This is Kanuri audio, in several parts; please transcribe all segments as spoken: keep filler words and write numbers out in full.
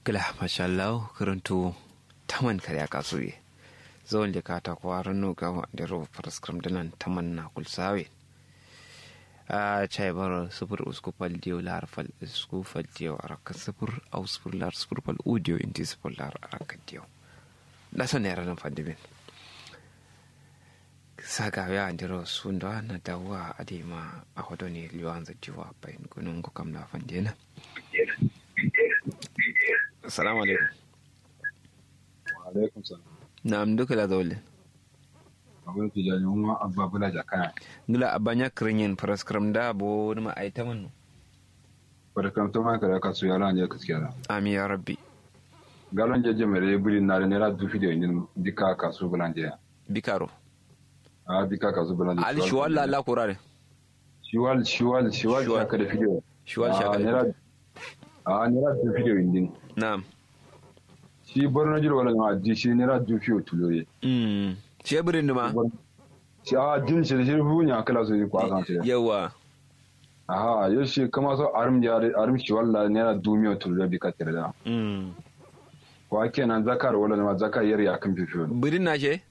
Gla mashallahu kǝrǝntu taman karya kasuye. Zawon de kata kuwa ranno gawo andero faraskram dǝnan taman na kulsawe. A chai baro sufur usku fal diyo lar fal usku fal diyo arakka sufur au sufur lar sufur fal u diyo indi sufur lar arakka diyo. Nda so nera nan fandimin. Sagawe andero sundo na dawuwa adai ma ahodo ne liwanza diwa bayin gunun gukam la fandena. Assalamu alaikum. Wa alaikum salam. Na'am duka la zaule. Abun tijani umma abba bula jakana. Ngla abanya krinyen faraskram da bo ma aita manno. Faraskram to ma kare kasu yala ne kaskiya da. Amin ya rabbi. Galon jeje mere buri na da naira dufi da indin dika kasu bulanje. Bikaro. A dika kasu bulanje. Ali shiwal la la kurare. Shiwal shiwal shiwal shaka da fidiyo. Shiwal shaka da fidiyo. A naira dufi da indin. Na'am. Shi borno jiro wala ma di shi naira dufi o tulore. Mm. Shi birin duma. Shi a din shi shi fu nya kala su kwa san shi. Yawa. Aha yo shi kama so arum ya arum shi walla naira dumiyo tulore bi ka tirda. Mm. Wa kenan zakar wala ma zakar yar ya kan fifiyo. Birin na she?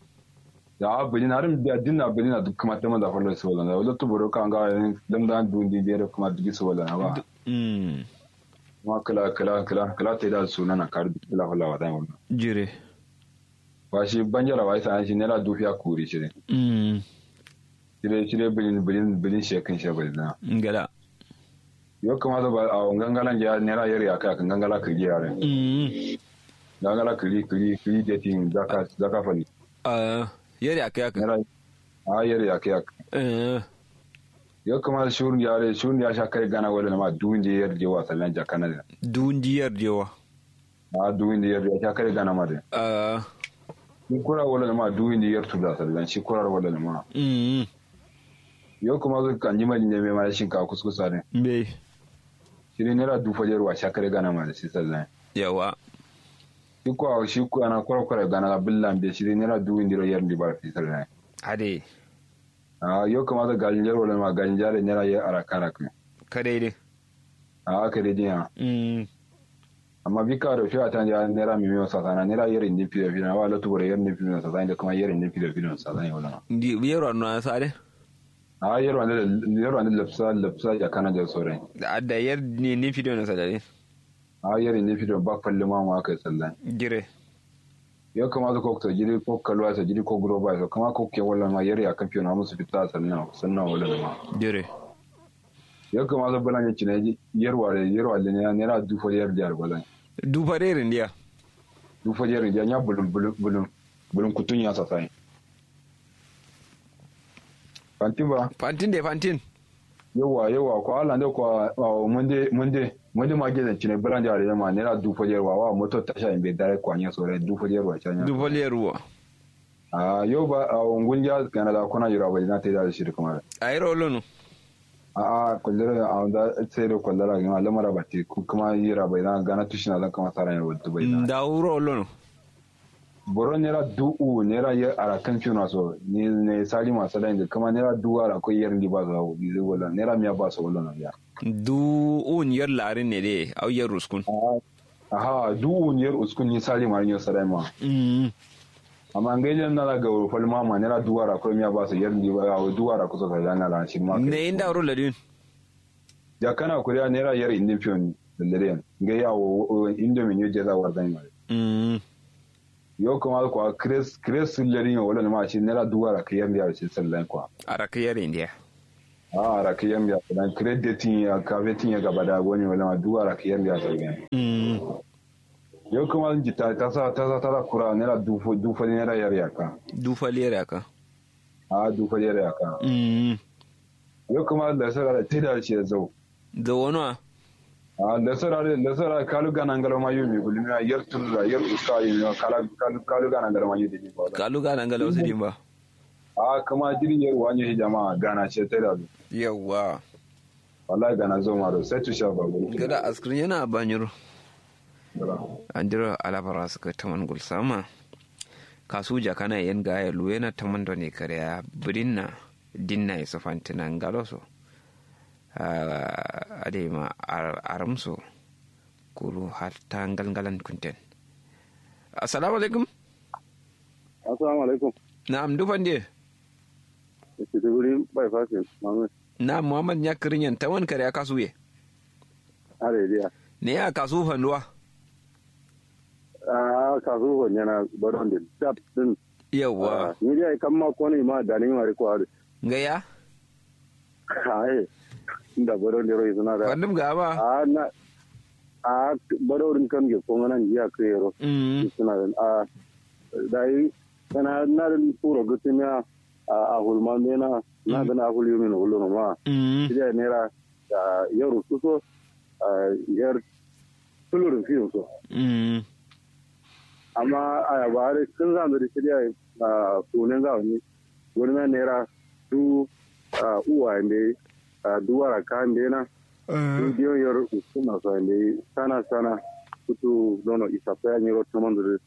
Ya bini na rin biya dinna bini na duk kuma taman da fallo su wala na wala tu boro ka nga yin dam da dun di bere kuma duk su wala na ba. Mm. Kuma kala kala kala kala te da suna na kar duk kala wala wa da wannan. Jire. Ba shi banjara wa isa shi naira dufiya kuri shi ne. Mm. Shire shire bilin bilin bilin shekin shi bilin na. Ngala. Yo kuma da ba a gangalan ya naira yar ya kai kan gangala kiri yare. Mm. Gangala kiri kiri kiri de tin zaka zaka fani. Ah, yar ya kai kan. Naira a yar ya kai. Eh. Yo kuma shurun yare shurun ya sha kai gana wala ma duwin de yar je wa sallan jakana da. Duwin de yar je wa. A duwin de yar ya sha kai gana ma da. Ah. Shi kura wala ma duwin de yar tuda sallan shi kura wala ma. Mm. Yo kuma zai kanji ma ne mai ma shinkafa kuskusa ne. Be. Shi ne naira dufa jerwa sha kare gana ma da shi sallan. Yawa. Shi kuwa shi kuwa na kwara kwara gana ga billan be shi ne naira duwin diro yar ndi bar fi sallan. Ade. A yo kuma zai galin jerwa ma galin jare naira yar araka araka. Kadai dai. A kadai dai ya. Mm. Amma bika do fiya tan ya naira miliyon sasana naira yar indi fiyo fiyo wa latu bore yar indi fiyo sasana da kuma yar indi fiyo fiyo sasana wala. Ndi yar wa na sare. A yar wanda yar wanda lapsa lapsa ya kana da sore. Da adda yar ne ne fiyo na sadare. A yar ne fiyo ba falle ma ma kai sallan. Jire. Yo kuma zai kokto jiri ko kalwa sa jiri ko groba sa kuma ko ke wala ma yar ya kan fiyo na musu fita sannan sannan wala ma. Jire. Yo kuma zai bala ne cine yarwa da yarwa da ne naira dufa yar da bala. Dufa da irin diya. Dufa da irin diya nya bulun bulun bulun bulun kutun ya sasai. Fantin ba. Fantin de fantin. Yawa yawa ko ala ne ko munde munde munde ma gidan cine bala da ma naira dufa yarwa wa moto tasha in be dare kwanya sore dufa yarwa chanya. Dufa yarwa. A yo ba a ungun ja kana da kuna yura ba na te da shi kuma. Ai rolo no. A a kullura a wanda sai da kullara ga lamara ba te kuma yura bai na gana tushina zan kama sara ne wadda bai na. Da wuro lono. Boro nera du'u nera yar arakan fiyo na so ne ne sali ma sala inda kuma nera du'u ara ko yar ndi ba so wala nera miya ba so wala na ya. Du'u yar larin ne de au yar ruskun. Aha du'u yar uskun ni sali ma nyo sala ma. Mm. Amma ngai jan na la ga fal ma ma nera du'u ara ko miya ba so yar ndi ba au du'u ara ko so ka jana la shi ma. Ne inda ro ladin. Jakana kuriya nera yar indin fiyo ni lallare ngai ya wo indomi nyo jeza warzan ma. Mm. Yo kuma kwa kres kres lari yo wala ma shi nera duwa ra kiyar ndiya shi sallan kwa. Ara kiyar indiya. A ara kiyar ndiya dan kres de tin ya ka be tin ya gaba da wani wala ma duwa ra kiyar ndiya sallan. Mm. Yo kuma ji ta ta sa ta sa ta kura nera dufa dufa nera yar yaka. Dufa yar yaka. A dufa yar yaka. Mm. Yo kuma da sara da tida shi zau. Zawonwa. A lesara de lesara kalu gana ngalo ma yumi gulmi a yar turra yar uska yumi kala kalu kalu gana ngalo ma yumi ba. Kalu gana ngalo su dimba. A kama jiri yar wani hijama gana ce ta da. Yawwa. Wallahi gana zo ma do sai tu sha ba gulu. Gada askrin yana banyiro. Andiro alabara suka taman gulsama. Kasu jakana yen ga ya luwena taman done kare ya birinna. Dinna iso fantina ngalo so. Adai ma arum so. Kuru hatta ngalngalan kunten. Assalamu alaikum. Assalamu alaikum. Na'am, ndu fande? Maiduguri bypass muhammad. Na'am, muhammad nya kirinyen taman kare aka suye? Are diya. Ne ya kasu fanduwa? Ah, kasu fanyana baron de dab din. Yawwa. Ni dai kamma kone ma dani ma riko adu. Ngaya? Ai, nda baron de roi suna da. Fandum ga ma? Ah, na ah, baron din kam ge kongana ngiya kero. Mm. Suna da. Ah, dai kana na din puro gutumiya. Ah, ahul ma mena na din ahul yumi no wullo no ma. Mm. Sida nera. Ah, yar ususo. Ah, yar tulurin fiyo so. Mm. Amma ayaba are sun zan zari shirya. Ah, sunan ga wani wani ma naira du. Ah, uwa inde. Ah, duwara ka inde na du diyon yar usuna so inde sana sana. Kutu dono isa fa ya nyiro taman zuri.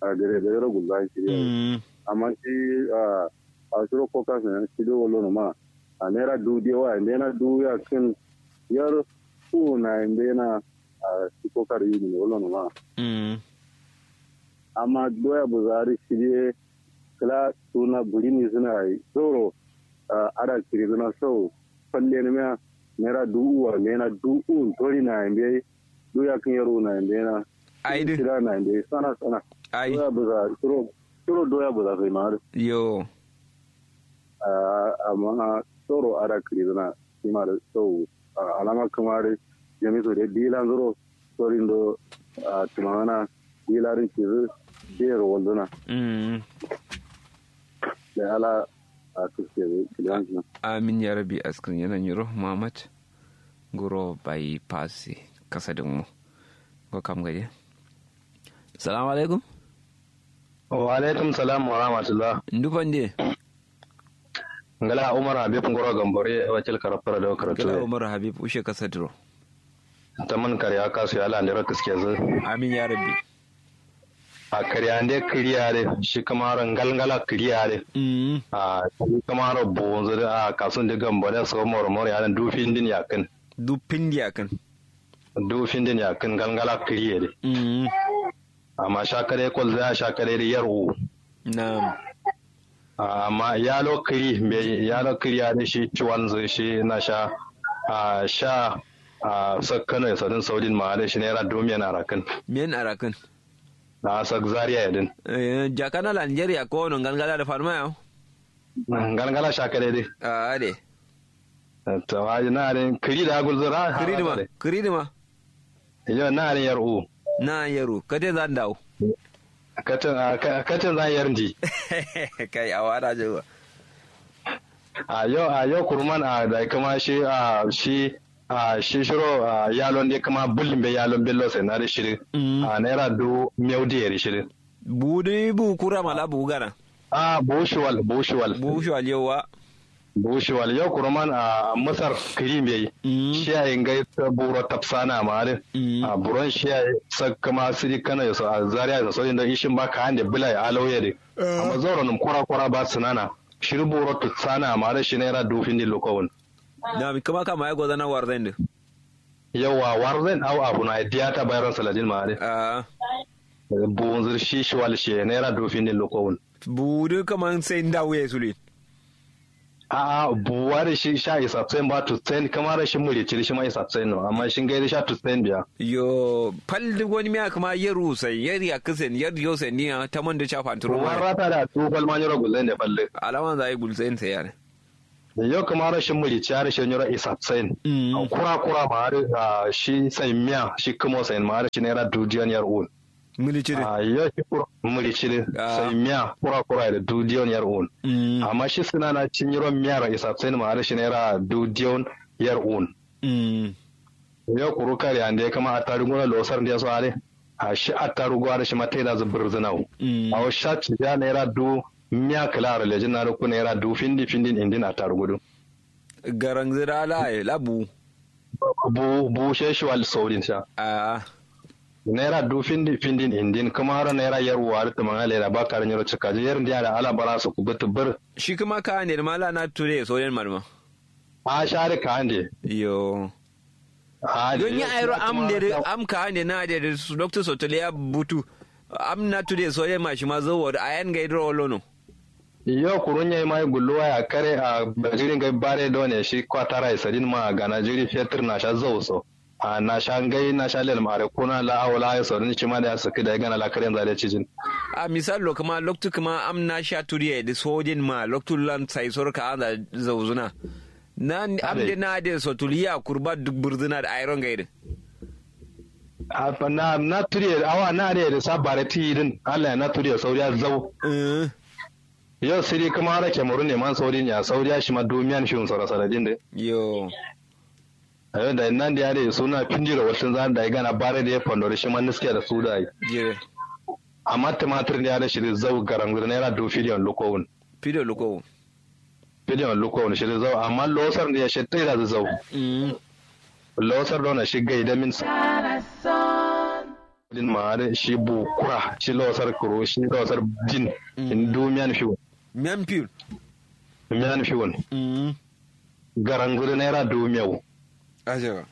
Ah, dare dare ro gulba shirya. Mm. Amma shi ah, a shiro kokas ne shi do wallo no ma. A naira du diyo wa inde na du ya kin yar ku na inde na. Ah, shi kokar yi ne wallo no ma. Mm. Amma doya buzari shi de kala suna buri ni suna yi zoro. Ah, ada kiri suna sau falle ne ma naira du uwa ne na du un tori na inde. Du ya kin yar u na inde na. Ai du. Kira na inde sana sana. Ai. Doya buza shiro shiro doya buza sai ma. Yo. Ah, amma soro ada kiri suna. Shi ma da sau. Ah, alama kamar jami'u da dilan zoro. Sorin do. Ah, tumana dilarin kizu. Biyar wanzuna. Mm. Da ala a tuske da kiliyan suna. Amin ya rabi askrin yana nyiro muhammad. Guro bai pasi kasa din mu. Go kam gaje. Salamu alaikum. Wa alaikum salam wa rahmatullah. Ndu fande? Ngala umar habib ngoro gambore wakil karafara da karatu. Ngala umar habib ushe kasa duro. Taman karya kasu ya landira kiske zu. Amin ya rabbi. A karya nde kiriya de shi kamaro ngalngala kiriya de. Mm. A shi kamaro bonzo de a kasun de gambore so moro moro ya du findin yakin. Du findi yakin. Du findin yakin ngalngala kiriya de. Mm. Amma sha kare kwalza ya sha kare da yar u. Na'am. Amma yalo kiri mbe yalo kiri ya da shi ciwanzu shi na sha a sha a sakkano ya sadin saudin ma da shi naira dumiyan arakin. Miyan arakin. Na sak zaria ya din. Eh, jakana la nigeria ko no ngalngala da farma yau. Ngalngala sha kare dai. A de. Tawaji na din kiri da gulzura. Kiri dima kiri dima. Yo na ni yar u. Na yar u kate zan dawo. Kate zan yar ndi. Kai a wada je ba. A yo a yo kurman a da kuma shi a shi a shi shiro a yalon de kuma bullin be yalon bello sai na da shirin. A naira du miyau da yari shirin. Budu bu kura mala bu gana. A bushuwal bushuwal bushuwal yawa. Bushuwal yau kuruman a masar kirim yayi. Shi yayi ngai buro tafsana ma din. A buron shi yayi sakkama sidi kana yaso a zariya yaso sojin da ishin ba ka hande bula ya alauye din. Amma zauro num kura kura ba sunana shiri buro tutsana ma din shi naira dufin din lokowun. Na mi kuma kama ya gozana warzan din. Yawa warzan au abu na diya ta bayron saladin ma din. Bunzir shi shiwal shi naira dufin din lokowun. Budu kaman sai nda wuye sule. A'a buwa da shi sha isatsen ba tutsen kamar shi muri ciri shi ma isatsen no amma shi ngai da sha tutsen biya. Yo fal duk wani miya kuma yaru sai yar ya kisen yar yo sai niya ta man da cha fanturo ma. Warata da tu fal ma nyoro gulzen da fal duk alaman zai gulzen sai yare. Yo kamar shi muri ciyar shi nyoro isatsen. Kura kura ma har shi sai miya shi kuma sai ma har shi naira dudiyan yar un. Mili ciri. Yo shi kuro mili ciri sai miya kura kura da dudiyon yar un. Amma shi suna na cin yiro miya ra isab sai ma da shi naira dudiyon yar un. Yo kuru kare ande kama attarugu na losar da so are. A shi attarugu are shi matai da zubur zinau. Awo sha ci ja naira du miya kala ra lejin na ku naira du findi findin indin attarugu du. Garangzi da ala la bu. Bu bu she shuwal saudin sha. Naira du findin findin indin kuma haro naira yar uwa da tumanga leda ba karin yaro cika je yar ndiya da ala bara su ku gutu bir. Shi kuma ka ne ma la na ture saudin malma. A sha da ka ande. Yo. Don nya airo am de de am ka ande na de de loktu sotuliya butu. Am na tude soye ma shima zawo da ayan ga idro wolono. Yo kuru nyai mai gulluwa ya kare a jiri ngai bare done shi kwatara isadin ma gana jiri fetur na sha zau so. A na sha ngai na sha lel mare kuna la awla ya so din shima da ya saki da gana la kare yanzu da cijin. A misal lo kuma loktu kuma am na sha turiye da sojin ma loktu lan sai sor ka anda zauzuna. Na am de na de sotuliya kurba duk burzuna da airo ngai din. A na na turiye awa na de da sabare ti din Allah ya na turiye sauriya zau. Yo siri kuma ara kemuru ne man sauri ne a sauri ya shi ma dumiyan shi unsura saladin de. Yo. Ayo da nan da yare suna findiro wasu zan da gana bare da ya fandori shi ma niske da su da yi. Jire. Amma tumatir da yare shi da zau garan gudu naira du fidiyon lukowun. Fidiyon lukowun. Fidiyon lukowun shi da zau amma losar da ya shi tai da zau. Mm. Losar da wani shi gai da min sa. Din ma'adin shi bu kura shi losar kuro shi losar din. Mm. In du miyan fiwun. Miyan fiwun. Miyan fiwun. Mm. Garan gudu naira du miyau. Ajewa.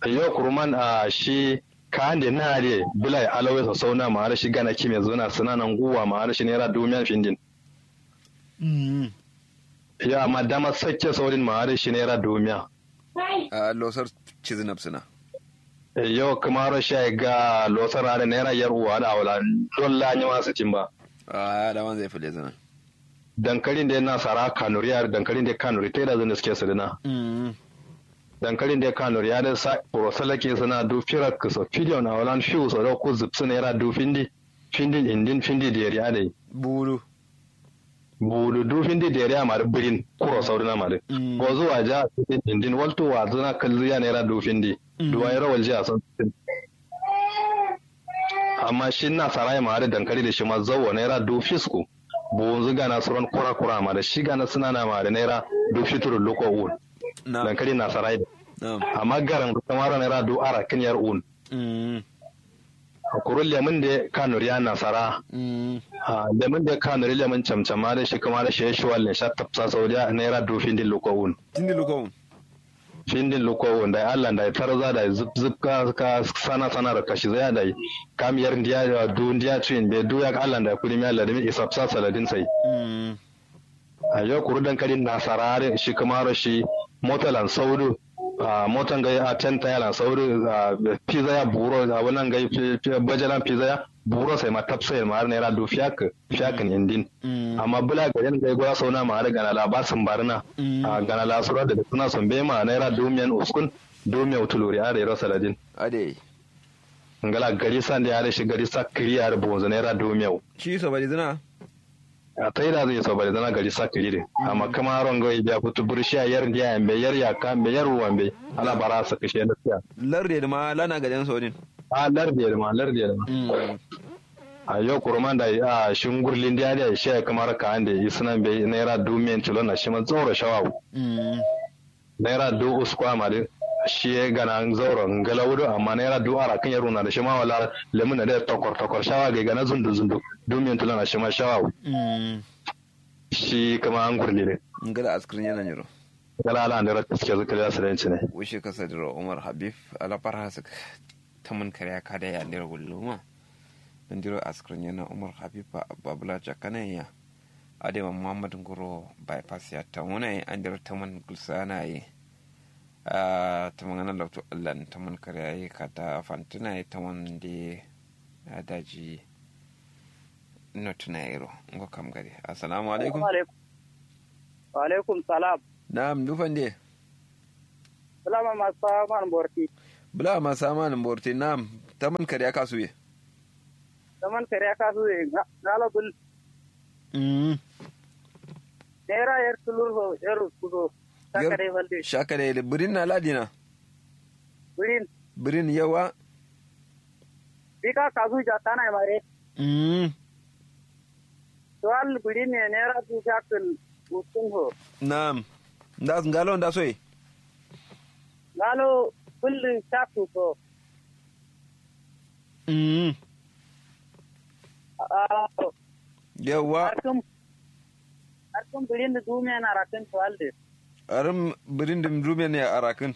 Yo kuruman a shi ka ande na de bulai alawai sosau na ma'adin shi gana kime zuna suna nan guwa ma'adin shi naira du miyan findin. Mm. Yo amma dama sakke saurin ma'adin shi naira du miya. A losar cizinab suna. Yo kamaro shai ga losar ada naira yar uwa da awla. Dolla ni wasu cin ba. A da man zai fule zana. Dankalin da yana sara kanuri yar dankalin da kanuri tai da zan suke su dina. Mm. Dankalin da kanuri ya da sa kuro salake suna du firak so fidiyon awlan fiu so da ku zubsu naira du findi. Findin indin findi deri adai. Buru. Buru du findi deri amari birin kuro saurina mari. Mm. Gozu waja findin indin waltu wazuna kalzu ya naira du findi. Mm. Duwa yaro walji a son. Amma shi na sarai mari dankali da shi ma zawo naira du fisku. Bunzu gana suron kura kura ma da shi gana suna na mari naira du fituru luko un. Dankali na sarai. Amma garan kamaro naira du ara kin yar un. Mm. Kuru lemun de kanuri ya nasara. Mm. Lemun de kanuri lemun camcama de shi kuma de shi shuwal ne sha tapsa saudiya naira du findin lukowun. Findin lukowun. Findin lukowun da allah da tarza da zup zup ka sana sana da kashi zai da kam yar ndiya du ndiya tuyin be du ya allah da kudi mi allah da mi isapsa saladin sai. Mm. Ayo kuru dankali nasara de shi kuma ro shi motalan saudu. Motan gai a ten taya lan sauri. Pizza ya buro a wannan gai bajalan pizza ya buro sai ma tafsir ma har naira du fiyak fiyakin indin. Amma bula gajen gai gura sauna ma har gana la ba sun barina. Gana la sura da suna sun be ma naira du miyan uskun du miyau tuluri a da yaro saladin. Ade. Ngala gari san da ya da shi gari sa kiri ya da bonzo naira du miyau. Shi so bari zina. A taida zai so bari zana gari sa kiri din amma kama rongo ya biya futu burshi a yar ndiya yambe yar yaka yambe yar uwa yambe. Ala bara sa kashe na siya. Larde da ma lana gajen sodin. A larde da ma larde da ma. A yau kuruman da a shi ngurlin da ya da shi ya kamar ka ande isnan bai naira dumiyan tilon na shi ma tsoro shawawu. Naira du usku amari. Shi ye gana zauro ngalau do amma naira du arakin ya runa da shi ma wala lemun na da tokor tokor shawa ga gana zundu zundu. Dumiyan tulana shi ma shawa. Shi kama an gurli ne. Ngala askirin yana nyiro. Ngala ala andara kaske zikir ya sirenci ne. Wushi kasa diro umar habib. Alafar hasik. Taman karya kada ya andira gulluma. Andiro askirin yana umar habib. Babula jakana ya. Adema muhammad nguro bypass ya tamuna ye andiro taman gulsana ye. Ahh tamangana loktu allan taman karya ye kata fantuna ye taman de. Ahh daji. Notuna yero. Ngo kam gade assalamu alaikum. Wa alaikum salam. Na'am ndu fande. Bula ma masa man borti. Bula ma masa man borti na'am. Taman karya kasu ye. Taman karya kasu ye. Ngalo bul. Uhmm. Naira yer tulur so yer usku so. Shakadai falde. Shakadai de birin na ladina. Birin. Birin yawa. Bika kasu jatana ye mare. Uhmm. Suwal birin ne naira du fiyakkun. Uskun so. Na'am. Ndas ngalo nda so ye. Ngalo. Kullum shakku so. Uhmm. Yauwa. Arkum. Arkum birin da dumiyan arakin tuwal de. Arum birin da dumiyan ya arakin.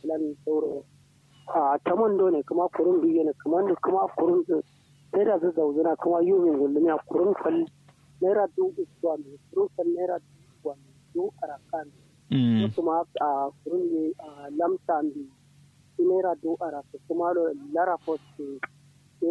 Kǝlan sauro. Ahh taman done kǝma kurun duyye nǝ kǝman dǝ kǝma kurun dǝ. Naira dǝ zauzǝna kǝma yumin gullǝmiya kurun fal. Naira dǝ uku ambe kurun fal naira dǝ uku ambe dǝ arakkǝ ambe. Yo kǝma ahh kurun dǝ ahh lamsa ambe. Naira dǝ arakkǝ kǝma do lara fosse.